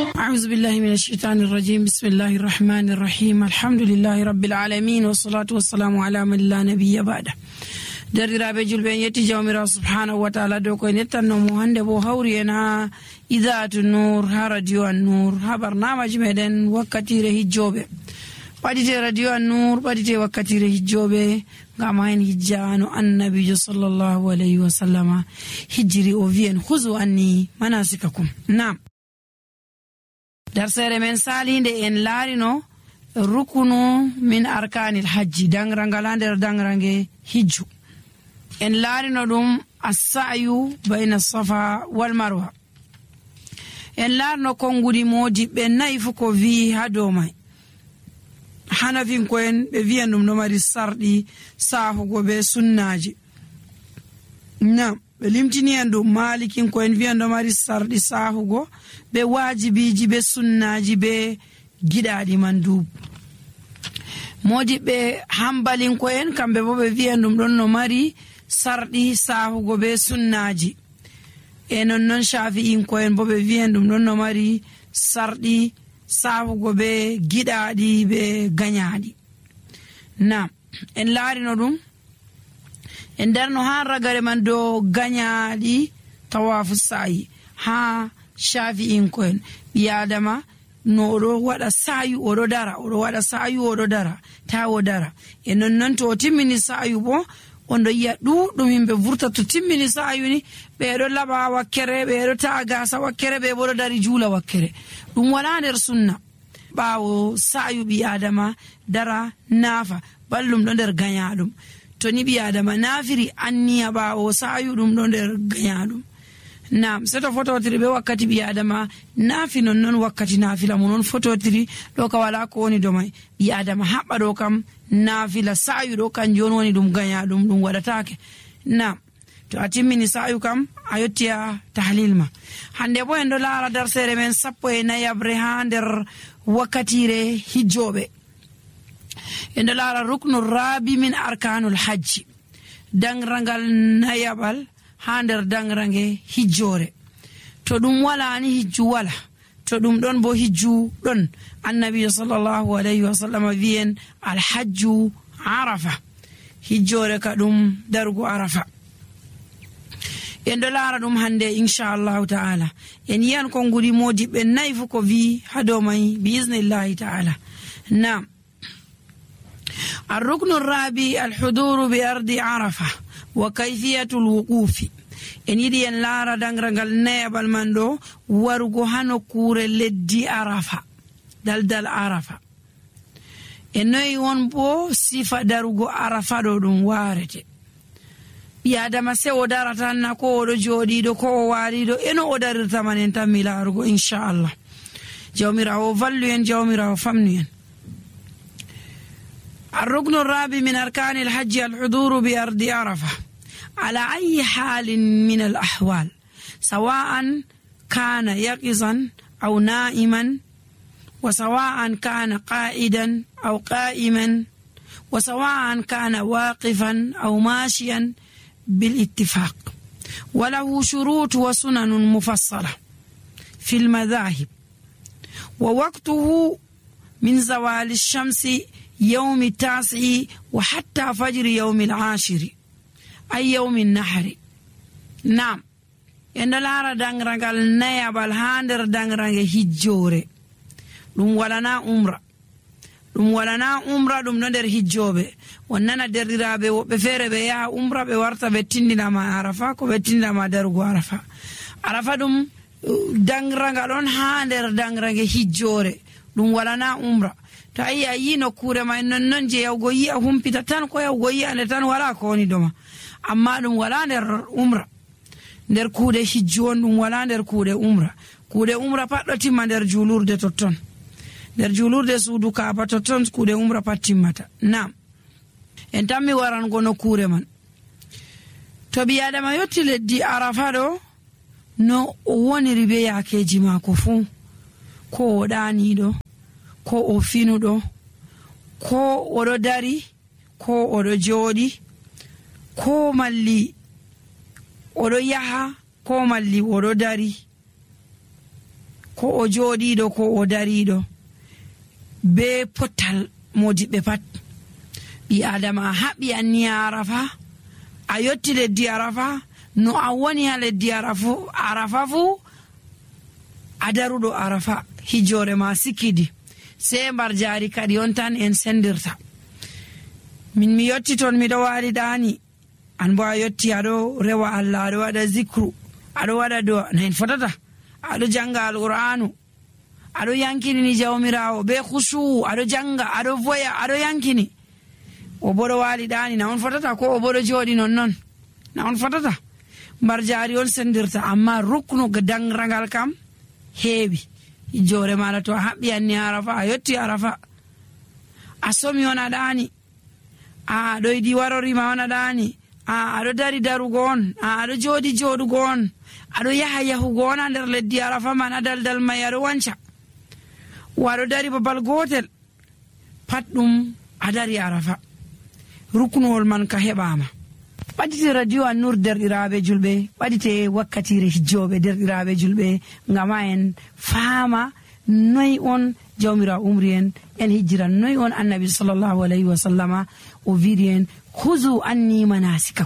أعوذ بالله من الشيطان الرجيم. بسم الله الرحمن الرحيم. الحمد لله رب العالمين والصلاة والسلام على من لا نبي بعده. derdiraaɓe julɓe en yetti jawmirawo subhanahu wa taala dow koye nettannomo hannde bo hawri en ha idatu nour ha radio an nour ha barnamaji meɗen wakkatire hijjoɓe ɓaɗite radio an nour ɓaɗite wakkatire hijjoɓe ngam hen hijjano annabijo sallllahu alayhi wa sallama hijjiri o wi en huzu anni manasikakum. nam darsere men salinde en laarino rukunu min arkanil hajji, dangragal ha nder dangrange hijju. en laarino ɗum assayu bayna safa wal marwa. en laarino konngudi modiɓɓe nayi fu ko wi ha dow mai. hanafinko'en ɓe wiyan ɗum ɗo mari sarɗi sahugo be sunnaji. nam ɓe limtini en ɗum malikinko'en wiyan ɗo mari sarɗi sahugo be wajibiji be sunnaji be giɗaɗi mandub. modiɓɓe hambalinko'en kamɓe bo ɓe wiyan ɗum ɗon no mari sarɗi sahugo be sunnaji. e nonnon shafi'inko'en bo ɓe wiyan ɗum ɗon no mari sarɗi sahugo be giɗaɗi be gañaɗi. nam en laarino ɗum en darno ha ragare man dow gañaɗi tawafu sa'i ha shafi'inko'en ɓiyadama no oɗo waɗa sayu oɗo dara, oɗo waɗa sayu oɗo dara, ta o dara. e nonnon to o timmini sayu bo on ɗo yiya ɗuɗɗum himɓe vurta to timmini sayu ni ɓeɗo laɓa wakkere, ɓeɗo ta'a gasa wakkere, ɓe boɗo dari juula wakkere. ɗum wala nder sunna. ɓawo sayu ɓi adama dara naafa ballum ɗo nder gañaɗum. to ni ɓi adama naafiri anniya ɓawo sayu ɗum ɗo nder gañaɗum. nam seto fototiri ɓe wakkati ɓi adama naafi nonnon wakkati naafila mu non fototiri ɗo ka wala ko woni do mai. ɓi adama haɓɓa ɗo kam naafila, sayu ɗo kanjum woni ɗum gañaɗum, ɗum waɗatake. nam to a timmini sayu kam a yottiya tahlil ma. hande bo en ɗo laara darsere men 14 ha nder wakkatire hijjoɓe. en ɗo laara ruknu rabi min arkanul hajji, dangrangal nayaɓal ha nder dangrange hijjore. to ɗum wala ni hijju wala, to ɗum ɗon bo hijju ɗon. annabijo sallllahu alayhi wa sallam wiyen alhajju arafa, hijjore ka ɗum darugo arafa. en ɗo laara ɗum hande inchallahu ta'ala. en yiyan konngudi modiɓɓe nayi fu ko wi ha dow mai biisnillahi ta'ala. nam الركن الرابع الحضور بأرض عرفة وكيفية الوقوف. en yiɗi en laara dangragal nayabal man ɗo warugo ha nokkure leddi arafa, daldal arafa. e noyi won bo sifa darugo arafa ɗo ɗum warete. ɓi adama se o darata na ko oɗo joɗiɗo ko o waliɗo eno o darirta man en tan mi laarugo inchallah. jawmirawo vallu en, jawmirawo famnu en. الركن الرابع من أركان الحج الحضور بأرض عرفة على أي حال من الأحوال، سواء كان يقظا أو نائما، وسواء كان قائدا أو قائما، وسواء كان واقفا أو ماشيا بالاتفاق. وله شروط وسنن مفصلة في المذاهب. ووقته من زوال الشمس يوم 9 وحتى فجر يوم 10 أي يوم النحر. نعم en lara dangragal nayabal ha nder dangrange hijjore. ɗum walana umra, ɗum walana umra, ɗum ɗo nder hijjoɓe. on nana derɗiraɓe woɓɓe feere ɓe yaha umra ɓe warta ɓe tindinama arafa ko ɓe tindinama darugo arafa. arafa ɗum dangragal on ha nder dangrange hijjore, ɗum walana umra. to a yi nokkure ma nonnon je yawgo yi'a humpita tan ko yawgo yi'ande tan wala ko woni doma, amma ɗum wala nder umra. nder kuuɗe hijju on, ɗum wala nder kuuɗe umra. kuuɗe umra pat ɗo timma nder julurde totton, nder julurde suudu kaaba totton kuuɗe umra pat timmata. nam en tan mi warango nokkure man. to ɓi adama yotti leddi arafa ɗo no o woniri be yakeji mako fuu, ko o ɗaniɗo, ko o finuɗo, ko oɗo dari, ko oɗo jooɗi, ko malli oɗo yaha, ko malli oɗo dari, ko o jooɗiiɗo ko o dariiɗo be potal modiɓɓe pat. ɓi adama a haɓɓi anni arafa, a yotti leddi arafa, no a woni ha leddi arafa fuu a daruɗo arafa, hijjore ma sikkidi, sei mbar jaari kadi on tan en sendirta. min mi yotti ton miɗo waali ɗaani, an bo a yotti aɗo rewa Allah, aɗo waɗa zicru, aɗo waɗa do'a, nayin fotata, aɗo janga alqur'anu, aɗo yankini jawmirawo be khushu, aɗo janga, aɗo voya, aɗo yankini. o boɗo waali ɗaani, na on fotata? Ko o boɗo jooɗi non, na on fotata? mbar jaari on sendirta, amma ruknu dangragal kam heewi. hijjore maɗa to a haɓɓi anni arafa, a yotti arafa, a somi on a ɗaani, aɗo yiɗi warorima on a ɗaani, aɗo dari darugo on, aɗo jooɗi jooɗugo on, aɗo yaha yahugo on ha nder leddi arafa man, a daldal mai aɗo wanca, waɗo dari babal gotel, pat ɗum a dari arafa. ruknuwol man ka heɓama. ɓaɗite radio An-Nur derɗiraɓe julɓe, ɓaɗite wakkatire hijjoɓe derɗiraɓe julɓe, ngama en faama noy on jawmirawo umri en hijjira, noy on annabi sallallahu alayhi wa sallama o wiɗi en huzu anni manasikakum,